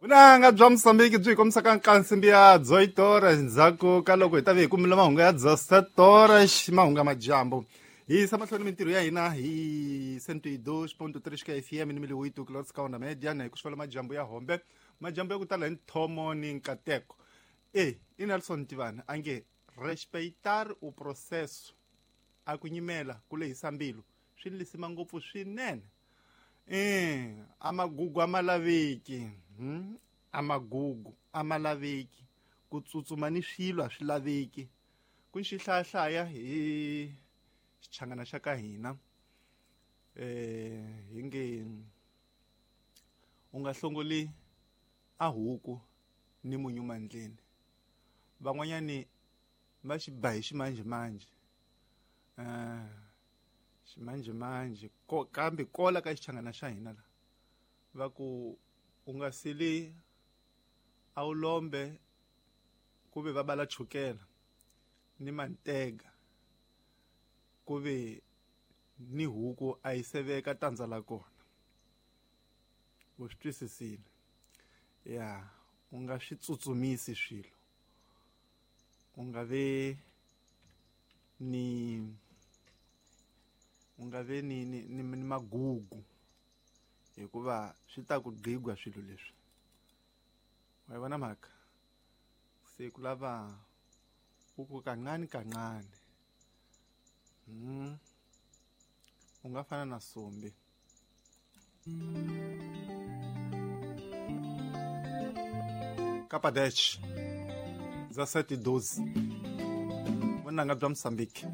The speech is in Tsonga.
Vunanga bya Mosambiki byi hi kombisaka nkansimbi ya dzoitora endzhaku ka loko hi ta ve hi kumile mahungu ya dzasetora mahungu ya madyambu. Hi yisa mahlweni mintirho ya hina hi 102.3 ka FM ni miliwito kilotska onda media na hi ku xivela madyambu ya hombe, madyambu ya ku tala hi nthomo ni nkateko. E i Nelson Tivani a nge respeitar o processo, a ku nyimela ku lehisa mbilu swi lisima ngopfu swinene. A magugu a ma laveki, a magugu a ma laveki, ku tsutsuma ni swilo a swi laveki, ku ni xihlayahlaya hi xichangana xa ka hina. Hi nge u nga hlongoli a huku ni munyu mandleni, van'wanyani va xi ba hi ximanjhemanjhe, ximanjhemanjhe kambe kola ka xichangana xa hina la va ku u nga sili a wu lombe ku ve va bala chukela ni mantega, ku ve ni huku a yi seveka tandza la kona. U swi twisisile? Ya, u nga swi tsutsumisi swilo, u nga ve ni u nga ve ni ni ni, ni magugu, hikuva swi ta ku gqigwa swilo leswi. Wa yi vona mhaka? Se ku lava u ku kancane kancane. U nga fana na Sumbi. Kapadech za 7:12 vunanga bya Mosambiki.